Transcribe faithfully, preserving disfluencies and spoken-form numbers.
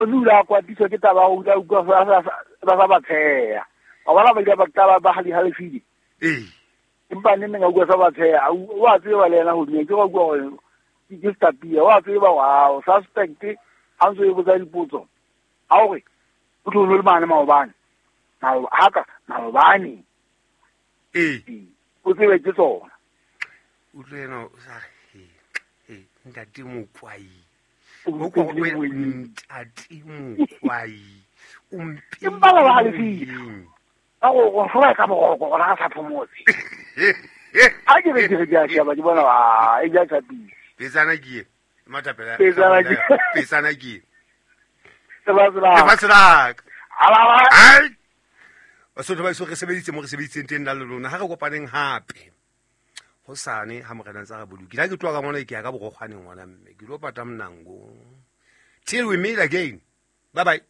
O dula a kwatiswa ke taba ya ho utlwa utlwa ba sa ba sa ba tsheha. Wa bona ba ile ba taba ba hali halefile. Ee. Empa neng neng a utlwa sa ba tsheha, o a tseba le yena hodimo, ke wa utlwa hore ke stapia, wa tseba hore ha suspect ha ntso e botsa dipotso. Ha hore o tlo le mane maobane. Haka maobane. Ee. O tsebe ke tsona. Utlwe yena o sa he he ntate Mokwai. O ko ntate Mokwai. O mpe. Empa ba halefile. Ka go go hlola ka boroko gona ga sa phomotse. Ha ke re ke re ke a sheba ke bona ba e ja tshapile. Petsana ke matapela. Petsana ke. Petsana ke. Lefatshe la ka. Ala. Ai. Basotho ba iso re sebeditse mo re sebeditseng teng la lona ha re kopaneng hape. Hosane ha morena ntsa re bolokile. Ha ke tloha ka mona ke ya ka borokgwaneng ngwana mme. Ke lo pata mnango. Till we meet again. Bye bye.